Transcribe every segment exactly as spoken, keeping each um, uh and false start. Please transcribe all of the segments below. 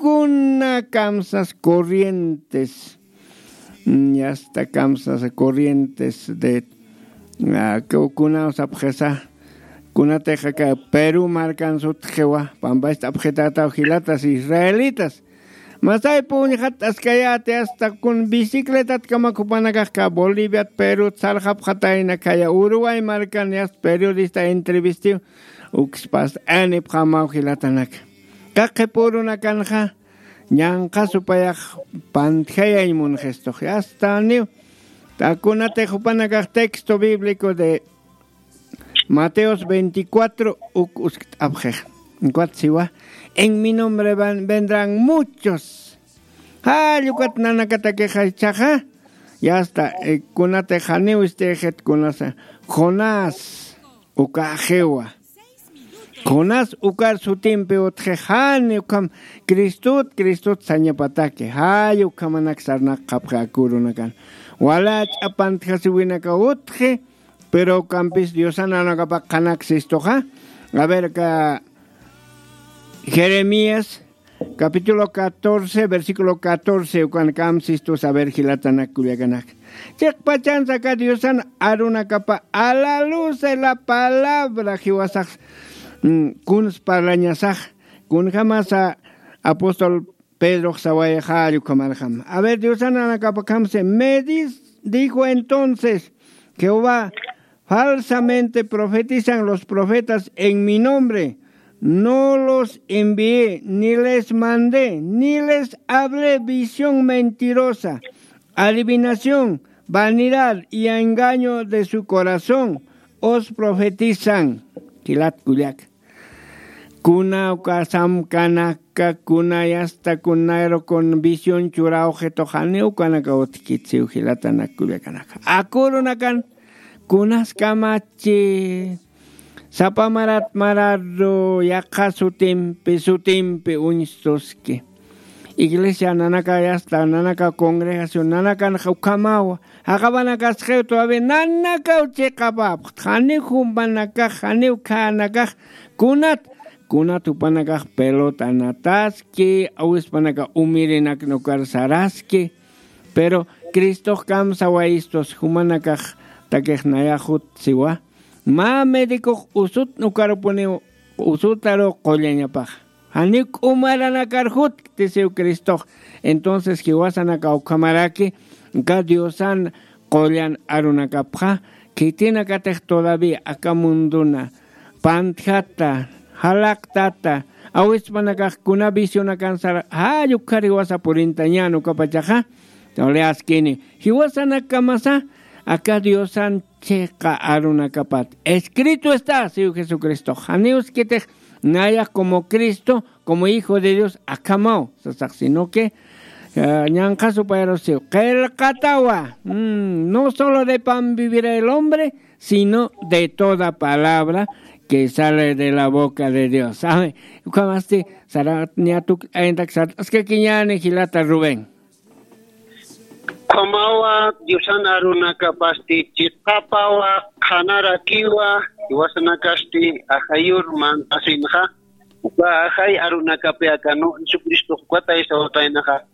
kuna kamsas corrientes, mm, yasta kamsas corrientes de, ah, ku-, kuna sapxisa, kunatix aka Perú markan sutxiwa, pampast'apxitataw jilatas israelitas. Masaypi uñxatt'askayäti, hasta kun bicicletat kamak jupanakax aka Boliviat, Perut sarxapxatayna, khaya Uruguay markan yasta periodista entrevistiw, ukspas anipxamaw jilatanaka. Aka qhipa urunakanxa ñanqha supayax pantjayañ munxistux, yasta niw. Takunatix jupanakax texto bíblico de Mateos veinticuatro uk uskt'apxix. Ukat siwa, en mi nombre van-, vendrán muchos. Jall ukat nanakatakix jichhaxa. Yasta, eh, kunatix janiw ist'ixit kunasa. Jonás ukaxiwa. Jonás ukar sutimpi utxix, jani ukham Cristot, Cristot sañapataki. Jall ukhamanak sarnaqxapxi aka urunakan. Wala ch'apantjasiwinaka utxi, pero ukampis Diosan arunankapa qhanaksistuxa. A ver, aka Jeremías, capítulo catorce, versículo catorce, ukan kamsistus, a ver, jilatanak kullakanak. Chiqpachansa aka Diosan arunakapa, a la luz de la palabra, jiwasax, mm, kuns parlañasax, kunjamasa apóstol Pedrox sawayxari ukhamarxam. A ver, Diosan arunankapa kamsi, me dis-, dijo entonces Jehová, falsamente profetizan los profetas en mi nombre. No los envié, ni les mandé, ni les hablé visión mentirosa, adivinación, vanidad y engaño de su corazón. Os profetizan. Jilat kullaka. Kuna uka samkanaka, kuna yasta, kuna aero, kun visión churawxitux, janiw ukanaka utjkit siw jilatanak kullakanaka. Aka urunakan kunas kamachi, sapa marat mararu, yaqha sutimpi, sutimpi uñstuski. Iglesia nanaka yasta, nanaka congregación nanakan ukhamawa. Jaqapanakaskiw todavía nanakaw chiqapapxt. Janiw jumpanakax, janiw khanakax, kunat, kunat jupanakax pelotanataski, awispanaka umirinaknukar saraski. Pero Cristox kamsawayistus, jumanakaxtakix nayax jut siwa. Mä médicox usutnukarupuniw, usutaru qullañapax. Janiw k'umaranakar jutkti siw Cristox. Entonces, jiwasanaka ukhamaraki, aka Diosan qullan arunakapxa, khitinakatix todavía aka munduna pantjata, jalaqtata, awispanakax kuna visionakan sara, jall ukhar jiwasa purintañän ukapachaxa, todavía askini. Jiwasanakakamasa, aka Diosan chiqa arunakapat. Escrito está, siw Jesucristox. Janiw uskitix nayax como Cristo, como Hijo de Dios, akhamaw, sasax, sino que, eh, ñanqha supayarusiw. Qillqatawa, mm, no solo de pan vivirá el hombre, sino de toda palabra que sale de la boca de Dios. Amén. Ukhamasti, sarat, niatuk, ayantak sat, askakiñäni jilata Rubén. Ukhamawa Diosan arunakapasti chiqapawa, qhanarakiwa, jiwasanakasti ajayur mantasinxa, uka ajay arunakapi aka, ¿no? Jesucristo ukatay sawataynaxa.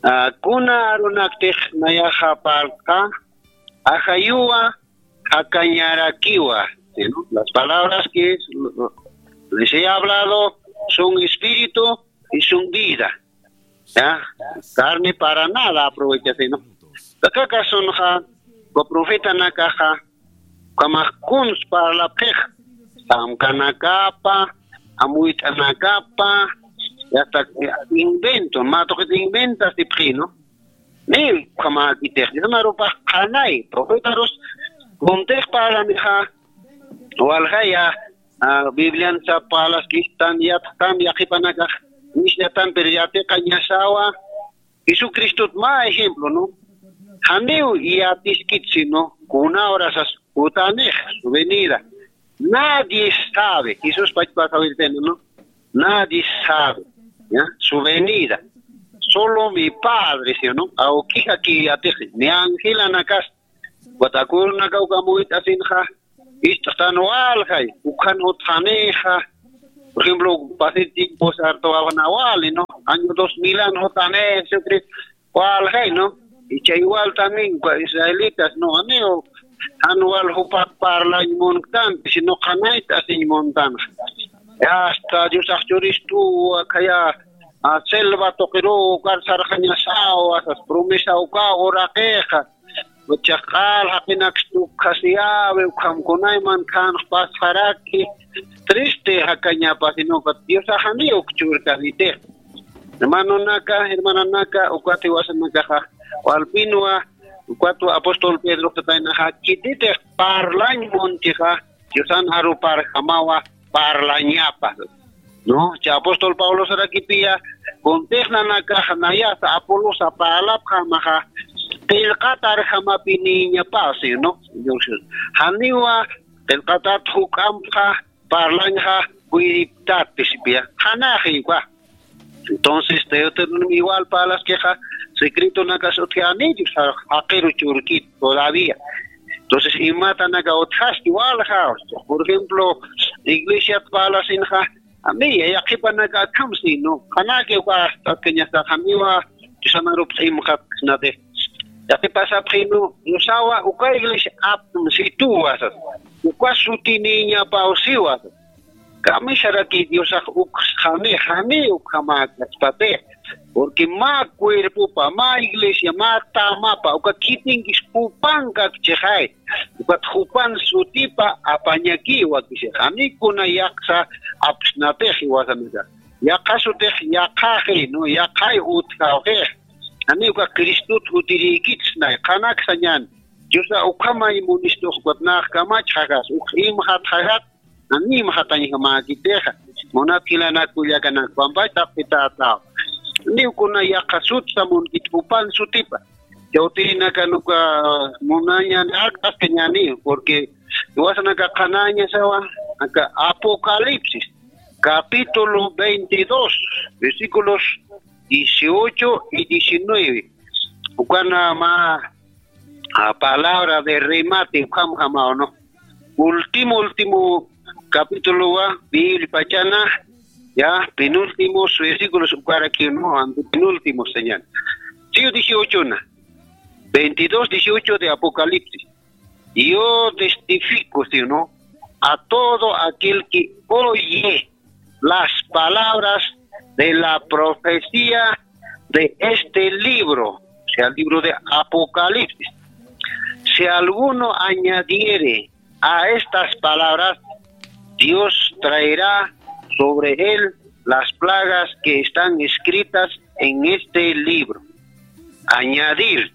Ah, kuna arunaktix nayaxa parltxa, ajayuwa, jakañarakiwa, ¿sí, no? Las palabras que les he hablado son espíritu y son vida. ¿Ya? Carne para nada aprovecha, ¿sí, no? Aka kasunxa, uka profetanakaxa, ukhamax kuns parlapxix, samkanakapa, amuyt'anakapa, y hasta, eh, invento, mä tuqit inventastipxi, ¿no? Ni, ukhamäkitix, Diosan arupax qhanay, profetarus, kuntix parlanixa, walja ya, ah, Biblian sap parlaskistan, yatxtan, yaqhipanakax, nisyatan, pero yatiqañasawa, Jesucristot mä ejemplo, ¿no? Janiw yatiskit, sino kuna hora sas jutanix, su venida. Nadie sabe, Jesús pachpa sawirtena, ¿no? Nadie sabe, ¿ya? Su venida. Solo mi Padre, ¿sí o no? Awkix aki yatix, ni angelanakas, ukat aka urunakaw ukham uyt'asinxa, ist'xtan waljay, ukhan utjanixa, por ejemplo, pasir tiempo sarta wawna wali, ¿no? año dos mil an jutani, Jesucristo, walxay, ¿no? Y chay igual también, cua israelitas, ¿no? Aniw, jan wal jupax parlañ munktanti, sino qhanayt asiñ muntanxa. Hasta Diosax churistuwa, khaya, a, selva tuqiruw, ukar sarxañasawa, sas promesa ukaw uraqixa. Uchax q'al jaqinaks tukkhasiyäwi, ukham kunayman khanx pasxaraki, triste jakañapa, sino que Diosax janiw uk churkanitix. Hermanonaka, hermananaka, ukat jiwasanakaxa, walpinwa, ukatwa apóstol Pedrox tataynaxa, khititix parlañ muntixa, Diosan aruparjamawa parlañapa. ¿No? Cha apóstol Pablo sarakipiya, kuntix nanakax nayasa Apolosa parlapxamaxa, qillqatarjamapiniñapa, ¿sí, no? Janiwa qillqatat juk'ampxa, parlañxa, wiriptat, pisipiya. Qhanaxiwa. Entonces, Deuteronomio igual parlaskixa, secretonakas utjani, jaqiru churkit todavía. Entonces, imatanaka utjaski walja, por ejemplo, iglesiat parlasinxa, ami, yaqhipanaka akham sino, qhanaki uka, tatkañasa, janiwa, Diosan arup q'imxat, natix. Yaqhipasapxinu, Diosawa, uka iglesia aptum situwa, sas. Uka sutiniñapaw siwa, sas. Kamisaraki Diosax ukxani, jani ukhamäkaspati. Porque mä cuerpopa, mä iglesia, mä tamapa, uka khitinkis jupankakchixay. Ukat jupan sutipa apañakiwa kisi. Jani kuna yaqhasa apsnatix jiwasanaka. Yaqha sutix yaqhaxi, ¿no? Yaqhay utjawxix. Jani uka Cristot jutirïkitsnay. Qhanaksañan. Diosa ukhamay munistux ukat nax kamachxaxas, uk imxatxaxat, Anima jatañjamäkitixa, munat jilanakullakanak, pampach taqpitataw. Niw kuna yaqha sutsa munkit jupan sutipa. Chawtirinaka nuka munañan ak'askañäni, porque iwasanaka qhanaña sawa, aka Apocalipsis, capítulo veintidós, versículos dieciocho y diecinueve. Ukana mä a palabra de remate, ukham jamaw, ¿no? Último, último capítulo wa, Biblia pachana, ya, penúltimos versículos, ukaraki, ¿no? Ante penúltimo, señal. Sí, dieciocho na. Veintidós dieciocho de Apocalipsis. Yo testifico, ¿sí, no? A todo aquel que oye las palabras de la profecía de este libro, o sea, el libro de Apocalipsis. Si alguno añadiere a estas palabras, Dios traerá sobre él las plagas que están escritas en este libro. Añadir,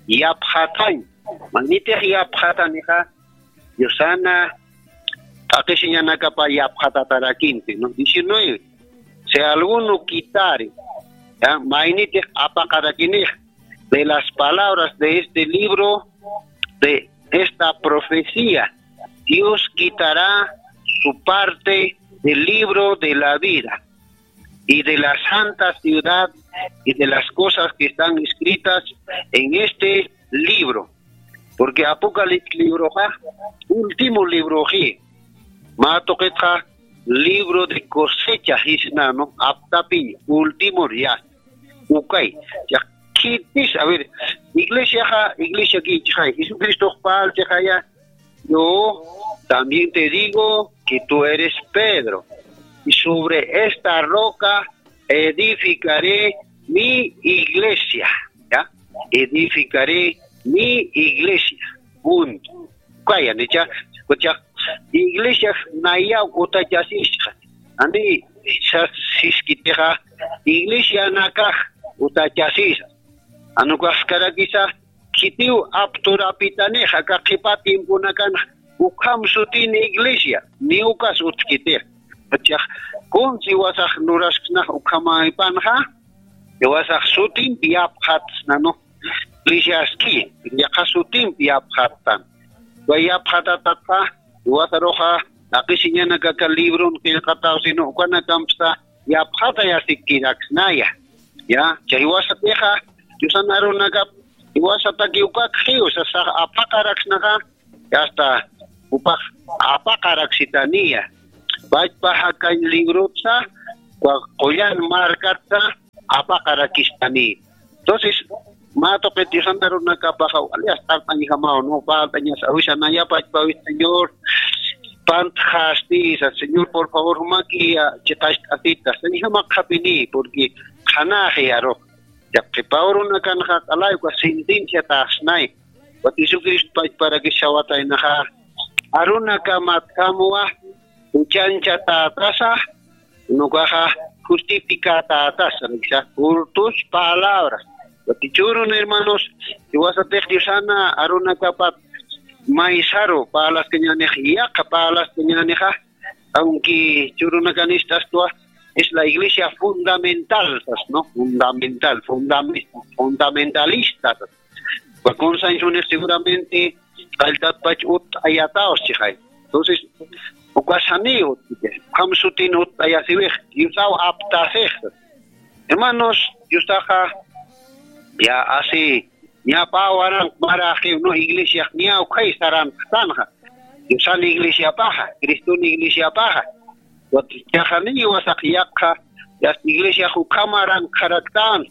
yapxatañ. Maynitix yapxatanixa, Diosana t'aqhisiñanakapa yapxatatarakimpi, ¿no? Diecinueve. Si alguno quitare, ¿ya? Maynitix apaqarakinix de las palabras de este libro, de esta profecía, Dios quitará su parte del libro de la vida y de la santa ciudad y de las cosas que están escritas en este libro. Porque Apocalipsis libroxa, último libroxi, mä tuqitxa libro de cosecha jisna, ¿no? Aptapiñ, último ya. Ukay, ya, khitis, a ver, iglesiaxa, iglesia kichxay, Jesucristo pal chixaya, Yo también te digo que tú eres Pedro, y sobre esta roca edificaré mi iglesia, ¿ya? Edificaré mi iglesia. Punto. Kaya, nicha, kucha, iglesia naya utachasisqa. Ani, sas, siskitixa, iglesia nakax utachasisa. Anukaxkarakisa, khitiw apturapitanix, aka qhipa tiemponakan ukham sutin iglesia, ni ukas utjkitix. Achax, kunsi iwasax lurasksnax ukhamäpanxa, iwasax sutimpi yapxatsna, ¿no? Iglesiaski, yaqha sutimpi yapxattan. Way yapxatatatxa, iwasaruxa, taqisiñanakaka libron qillqataw, sino ukanakampsa, yapxatayasikkiraksnaya. Ya, chay jiwasatixa, Diosan arunakap, jiwasataki ukakxiw, sasax apaqaraksnaxa, hasta upax apaqaraksitaniya. Pachpa jakañ librotsa, kua-, qullan markatsa, phuqt'akistani. Entonces, mä tuqit Diosana arunakapaxa wali astartañjamaw, ¿no? Parltañas awisanayapach pawit Señor, pantxasti, sa, Señor, por favor, jumaki, ah, chiqacht'asita, sañjamaq qhapini, porque qhanaxi arux. Yaqi pawrunakanxa q'alay uka sentencia taxsnay. Ukat Jesucristo pachparakis sawataynaxa, arunakamatkamwa, uchanchatätasa, unukaxa justificatätasa, riksa, por tus palabras. Ukat churun hermanos, jiwasatix Diosana arunakapat maysaru parlaskañänix, yaqa parlaskañänixa, aunque churunakanis t'astwa, es la iglesia fundamental, sas, ¿no? Fundamental, fundame-, fundamentalista, sas. Uka kunsañsunix seguramente qalltatpach utt'ayataw sixay. Entonces, uka saniw, ukham sutin utt'ayasiwix, Diosaw aptasix. Hermanos, Diosaxa ya asi, ña pä waranq maraxiw, ¿no? Iglesiax ña ukhay saranqtanxa. Diosan iglesiapaxa, Criston iglesiapaxa. Ukat jiwasax yaqha, yasta iglesiax ukhamaranqxaraktan,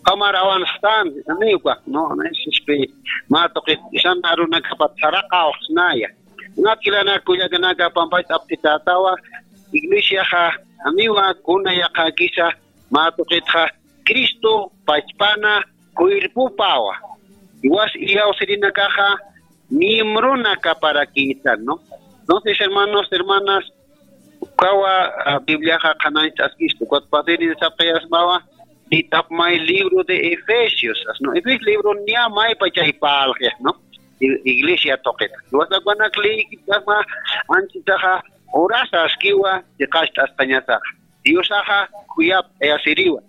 ukhamarawanxtan, aniw ukax, ¿no? Sispi, mä tuqit Diosana arunakapat saraqawxsnaya. Ukat jilanaka kullakanaka pampach aptitätawa, iglesiaxa, aniwa kuna yaqhakisa, mä tuqitxa, Cristo pachpana cuerpopawa. Jiwas iyawsirinakaxa miembronakaparakïtan, ¿no? Entonces, hermanos, hermanas, ukawa, ah, Bibliaxa qhanañcht'askistu, ukat pasirin sapxayasmawa, nitapmay libro de Efesios, ¿no? Efesios libro niya maypa chay parlxix, ¿no? I-, iglesia tuqit. Jiwasax ukanak leyikitasma, anchitaxa, urasa askiwa, chiqacht'askañasaxa. Diosaxa khuyapt'ayasiriwa.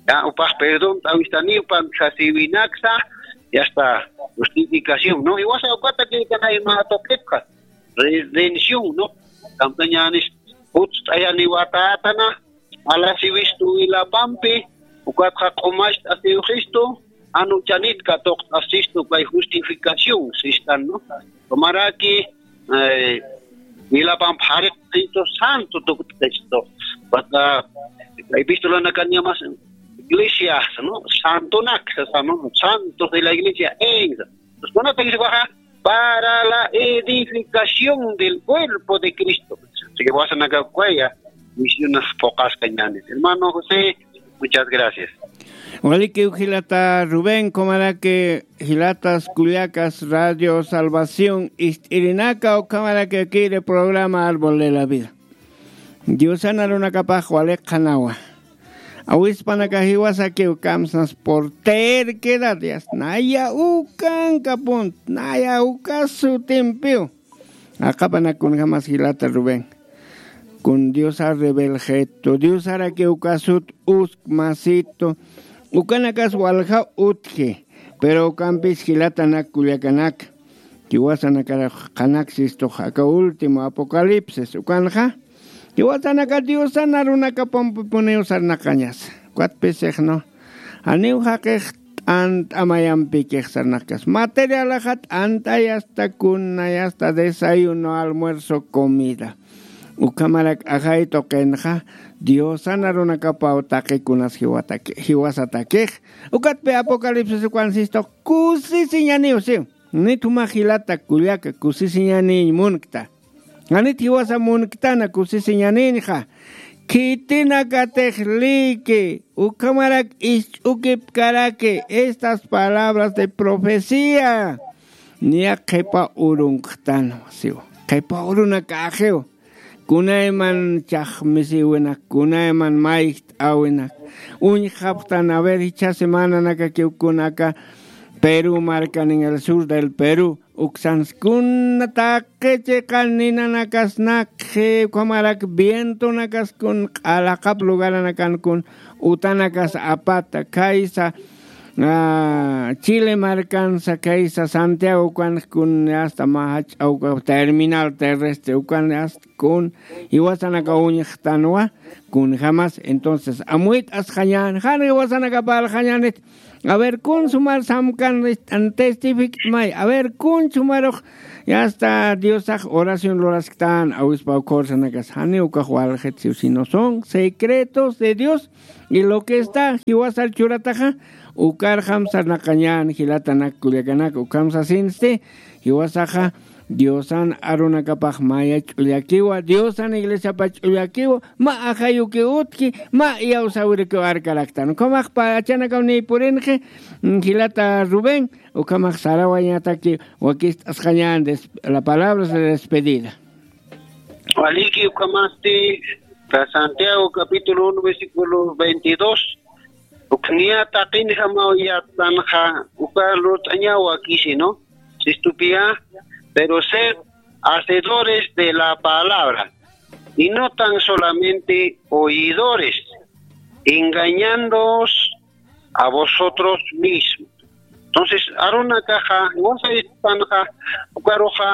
Ya, upax perdón t'awistaniw pantxasiwinaksa, ya está, justificación, ¿no? Jiwasa ukata killkanay mä tuqitxa, redención, ¿no? Kamsañänis, jutst'ayaniwatätana, alasiwistu wilapampi, ukatxa q'umacht'asiwxistu, jan uchanit katuqt'asistu, kay justificación sistan, ¿no? Ukhamaraki, eh, wilapamp jariqsistu santo tukt'istu. Ukat, epistolanakan llamas iglesias, ¿no? Santonak, sasa, ¿no? Santos de la iglesia, en. Entonces, kunata iglesiaxa, para la edificación del cuerpo de Cristo. Así que, jiwasanaka ukhaya, misionas phuqaskañänis. Hermano José, muchas gracias. Walikiw jilata Rubén, ukhamaraki jilatas kullakas Radio Salvación ist'irinaka, ukhamaraki kiri programa Árbol de la Vida. Diosan arunakapax waliqxanawa. Awispanaka jiwasakiw kamsnas por terquedad, ya, naya ukankapunta, naya uka sutimpiw. Aqhapanak kunjamas jilata Rubén. Kun Diosa rebelgetu, Diosaraki uka sut usk masitu, ukanakas walja utji, pero ukampis jilatanak kullakanak, jiwasanakar qhanaksistux aka último Apocalipsis, ukanxa, jiwasanaka Diosan arunakapampi puniw sarnaqañas. Ukat pisixnu, janiw jaqix t'ant'a mayampikix sarnaqkas. Materialaxa t'ant'ay, asta kuna, asta desayuno, almuerzo, comida. Ukhamarak ajay tuqinxa, Diosan arunakapaw taqi kunas jiwataki-, jiwasatakix. Ukatpi Apocalipsis ukan sistux kusisiñaniw siw. Nit juma jilata kullaka kusisiñaniñ munkta. Janit jiwasa munktana kusisiñaninxa. Khitinakatix liki, ukhamarak isch'ukipkaraki estas palabras de profecía. Niya qhipa urunktana, siw. Qhipa urunakaxiw. Kunayman chaqmisiwinak, kunayman mayjt'awinak. Uñjapxtan, a ver, jichha semananakakiw kunaka Perú markan, en el sur del Perú, uksanskuna taqi chiqan ninanakasnakxi, ukhamarak vientonakaskun q'alaqap lugaranakan kun utanakas apata, khaysa, ah, Chile markansa, khaysa Santiago ukan kun, asta mä jach'a uka terminal terrestre ukan, asta kun jiwasanaka uñjtanwa, kunjamas. Entonces amuyt'asxañän jan jiwasanakapalxañänit. A ver kun sumar samkan testifikt'may a ver kun sumarux. Yasta diosax oración lurasktan awispa ukhawrsanakas janiw ukax walxit siw sino son secretos de dios. Y lo que está jiwasar churataxa ukarxam sarnaqañän jilatanak kullakanak ukham sasinsti. Jiwasaxa diosan arunakapax maya ch'ullakiwa diosan iglesiapa ch'ullakiwa. Ma ajayuki utki ma iyawsawirukiw arkaraktan ukhamax pachanakaw niy purinxi. Jilata rubén ukhamax sarawañataki wakist'asqañän la palabra de despedida. Waliki ukhamasti santiago capítulo uno versículo veintidós. Ukniya taqinjamaw yattanxa uka lurt'añaw wakisi no. Sistupiya pero sed hacedores de la palabra y no tan solamente oidores, engañándoos a vosotros mismos. Entonces arunakaxa wasaypanxa ukaruxa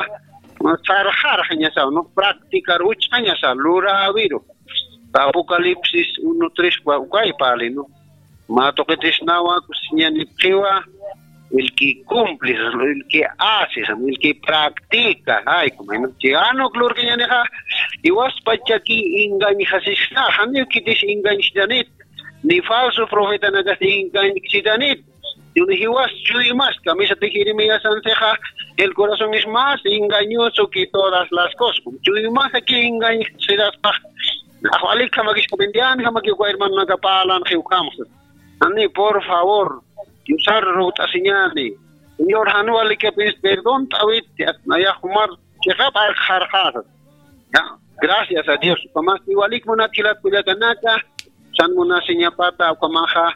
sarxarxañasaw no practicar uchxañasa luräwiru. Apocalipsis uno tres ukay pali no. Mä tuqitisnawa kusiñanipxiwa el que cumple, el que hace, el que practica. Ay como no chi anuk lurkañanixa. Iwaspachaki engañjasisna janiw khitis engañsitanit ni falso profetanakas engañksitanit. Jiwas chuymas kamisatix jeremiasansixa el corazón es más engañoso que todas las cosas. Chuymasaki engañsiraspax. Ajwalikhamakiskapintianjamaki uka hermanonaka parlanxi ukhamxa. Ani por favor diosar rugt'asiñani. Señor jan walikapis perdont'awit. Nayax jumar chiqap arqxarqasat. Gracias a dios. Ukhamasti walik munat jilat kullakanaka san munasiñapata ukhamaxa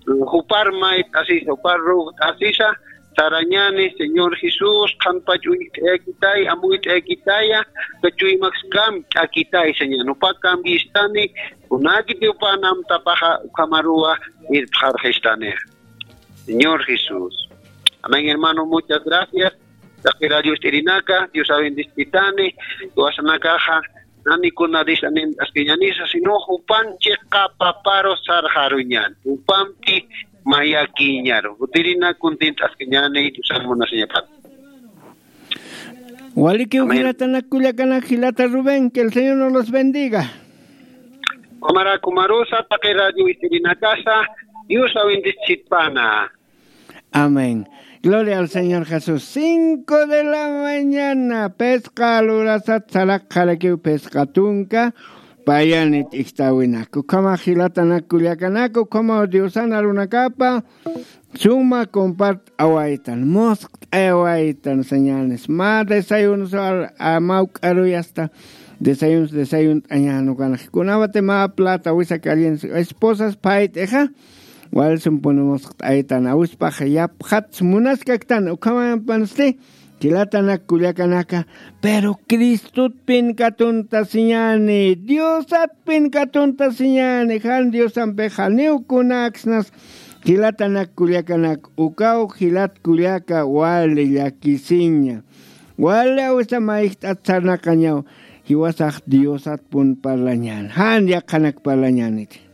jupar mayt'asisa jupar rugt'asisa. Sarañani señor jesús qhanpach uñt'ayakitaya amuyt'ayakitaya. Kachuymakskamt'akitay señor upa cambiistani. Kunakiti upan amtapaxa ukhamaruwa irpxarxistani. Señor jesús. Amén hermano muchas gracias. Taqi radio ist'irinaka dios abendispitani. Iwasanakaxa nani kuna disanin askiñanisa sino jupan chiqa paparu sarxaruñan jupampi mayakiñaru jutirina kuntint'askiñani diosar munasiñapat. Walikiw jilatanak kullakanak jilata rubén que el señor no los bendiga. Kamarakumarusa taqi radio ist'irinakasa dios abendispitpana. Amén. Gloria al señor jesús cinco de la mañana pesqa lurasat saraqxarakiw pesqa tunka. Payanit ixtawinak ukhamax jilatanak kullakanak ukhamaw diosan arunakapa suma compart'awaytan musqt'ayawaytan señanes mä desayunos. Mawk'aruy asta desayunos desayunt'añan ukanax kunawati mä plata wisa calientes esposas phayt'ixa. Walsumpuni musqt'aytan awispax yapxats munaskaktan ukhamanpansti. Jilatanak kullakanaka pero cristotpin katuntasiñani diosatpin katuntasiñani jan diosampix janiw kunaksnas. Jilatanak kullakanak ukaw jilat kullaka wali llakisiña. Wali awisa mayjt'at sarnaqañaw jiwasax diosatpun parlañän jan yaqhanak parlañäniti.